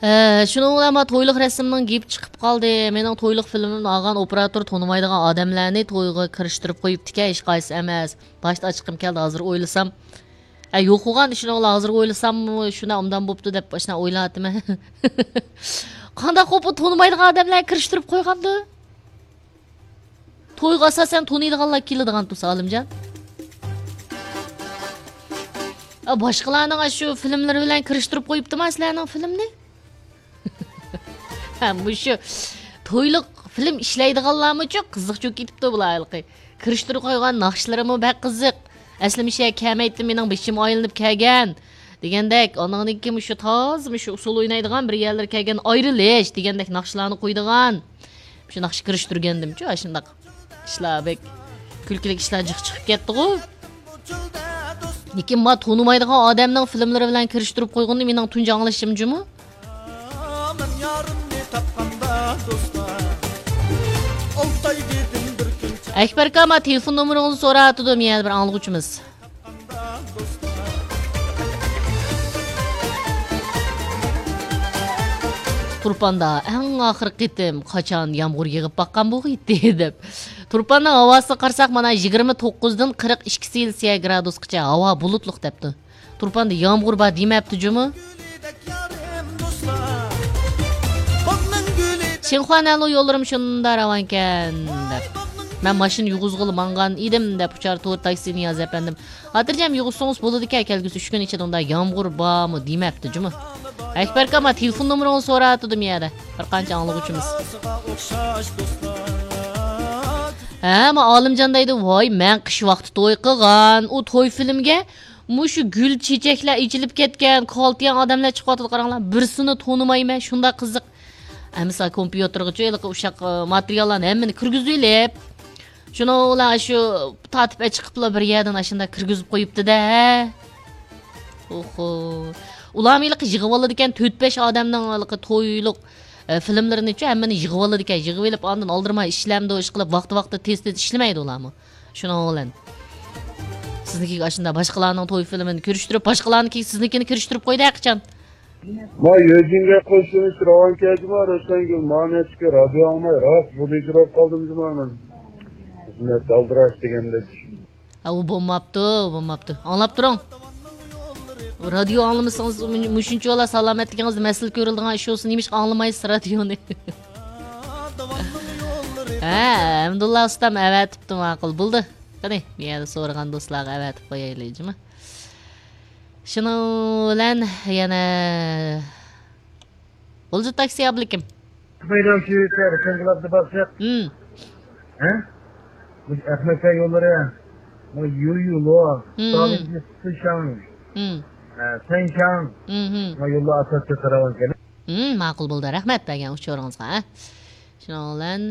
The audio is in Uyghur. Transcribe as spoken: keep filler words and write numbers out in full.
ھە، شۇنىڭ بىلەن ما تويلۇق رەسىمنىڭ گېپى چىقىپ قالدى. مېنىڭ تويلۇق فىلىمىمنى ئالغان ئوپېراتور تونۇمايدىغان ئادەملەرنى تويغا كىرىشتۈرۈپ قويۇپتىكەن، ھېچقايسىسى ئەمەس. باشتا ئاچچىقىم كەلدى، ھازىر ئويلىسام. ھە، يوقىغان، شۇنىڭ بىلەن ھازىر ئويلىساممۇ شۇنداق ئوبدان بوپتۇ دەپ ئاشۇنداق ئويلاۋاتىمەن. قانداق قوپۇپ تونۇمايدىغان ئادەملەرنى كىرىشتۈرۈپ قويغاندۇ؟ تويغا ئاساسەن تونۇيدىغانلار كېلىدىغان تۇرسا، ئالىمجان. ئا، باشقىلارنىڭ ئاشۇ فىلىملىرى بىلەن كىرىشتۈرۈپ قويۇپتىما سىلەرنىڭ فىلىمنى؟ ھە، مۇشۇ تويلۇق فىلىم ئىشلەيدىغانلارمۇچۇ قىزىق چۆكۈپ كېتىپتۇ بۇلار ھېلىقى. كىرىشتۈرۈپ قويغان ناخشىلىرىمۇ بەك قىزىق. ئەسلى مۇشۇ يەرگە كەلمەيتتىم، مېنىڭ بېشىم ئايلىنىپ كەلگەن دېگەندەك، ئاندىن كېيىن مۇشۇ تازا مۇشۇ ئۇسسۇل ئوينايدىغان، بىر يەرلىرى كەلگەن ئايرىلىش دېگەندەك ناخشىلارنى قويىدىغان. شۇ ناخشا كىرىشتۈرگەندىمچۇ، ئاشۇنداق ئىشلار بەك كۈلكىلىك ئىشلار جىق چىقىپ كەتتىغۇ. لېكىن ما تونۇمايدىغان ئادەمنىڭ فىلىملىرى بىلەن كىرىشتۈرۈپ قويغىنىنى مېنىڭ تۇنجى ئاڭلىشىم جۇمۇ. ئەكبەر ئاكا، ما تېلېفون نومۇرىڭىزنى سوراۋاتىدۇ يەنە بىر ئاڭلىغۇچىمىز. تۇرپاندا ئەڭ ئاخىرقى قېتىم قاچان يامغۇر يېغىپ باققان بولغىيتتى دەپ. تۇرپاننىڭ ھاۋاسىغا قارىساق، مانا يىگىرمە توققۇزدىن قىرىق ئىككى سېلسىيە گرادۇسقىچە ھاۋا بۇلۇتلۇق دەپتۇ. تۇرپاندا يامغۇر بار دېمەپتۇ جۇمۇ. شىنخۇا نەنلۇ يوللىرىم شۇنداق راۋانكەن دەپ. مەن ماشىنا يۇغۇزغىلى ماڭغان ئىدىم دەپ، ئۇچار تور تاكسى نىياز ئەپەندىم. خاتىرجەم يۇغۇزسىڭىز بولىدىكەن، كەلگۈسى ئۈچ كۈن ئىچىدە ئۇنداق يامغۇر بارمۇ دېمەپتۇ جۇمۇ. ئەكبەر ئاكا، ما تېلېفون نومۇرىڭىزنى سوراۋاتىدۇ يەنە بىر قانچە ئاڭلىغۇچىمىز. ھە، ما ئالىمجان دەيدۇ، ۋاي، مەن قىش ۋاقتى توي قىلغان، ئۇ توي فىلىمگە مۇشۇ گۈل چېچەكلەر ئېچىلىپ كەتكەن، كالتىيان ئادەملەر چىقىۋاتىدۇ، قاراڭلار، بىرسىنى تونۇمايمەن، شۇنداق قىزىق. ئەمىسە كومپيۇتېرغىچۇ ھېلىقى ئۇششاق، ئە، ماتېرىياللارنى ھەممىنى كىرگۈزۈۋېلىپ، شۇنىڭ بىلەن شۇ تارتىپ ئەچىقىپلا بىر يەردىن ئاشۇنداق كىرگۈزۈپ قويۇپتۇ-دە، ھە. ئوھو. ئۇلارمۇ ھېلىقى يىغىۋالىدىكەن، تۆت-بەش ئادەمنىڭ ھېلىقى تويلۇق، ئە، فىلىملىرىنىچۇ ھەممىنى يىغىۋالىدىكەن، يىغىۋېلىپ ئاندىن ئالدىرىماي ئىشلەمدۇ، ئىشقىلىپ ۋاقتى-ۋاقتىدا تېز-تېز ئىشلىمەيدۇ ئۇلارمۇ. شۇنىڭ بىلەن سىزنىڭكىگە ئاشۇنداق باشقىلارنىڭ توي فىلىمىنى كىرىشتۈرۈپ، باشقىلارنىڭكى سىزنىڭكىنى كىرىشتۈرۈپ قويدى ھەقىچان. ما يۆجىنگە قوشۇلۇش راۋان كەجما، روشەنگۈل، ما نەچكە رادىيو ئاڭلاي، راست بۇ دېگۈرەپ قالدىم جۇما مەن. خىزمەت ئالدىراش دېگەندەك. ھە، ئۇ بولماپتۇ، بولماپتۇ. ئاڭلاپ تۇرۇڭ. رادىيو ئاڭلىمىسىڭىز، مۇ-، مۇشۇنچىۋالا سالامەتلىكىڭىزدە مەسىلە كۆرۈلىدىغان ئىش بولسا، نېمىشقا ئاڭلىمايسىز رادىيونى؟ ھە، ھەمدۇللا ئۇستام ئەۋەتىپتۇ، ماقۇل، بولدى. قېنى، بۇ يەردە سورىغان دوستلارغا ئەۋەتىپ قويايلى، جۇما. شۇنىڭ بىلەن يەنە بولدى تاكسى ئابلىكىم. مەيدان شۇ يەردە سەنگىلاتنى باسساق. ھىم. ھە؟ مۇشۇ ئەخمەتجان يوللىرى. مۇ يۇيۇلۇ. ھىم، ھىم. سالىنجى سىشاڭ. ھىم. ھە، سەنشاڭ. ھىم، ھىم. مۇ يوللار ئاساسىي قاراۋان كەنت. ھىم، ماقۇل بولدى. رەھمەت بەرگەن ئۇچۇرىڭىزغا، ھە. شۇنىڭ بىلەن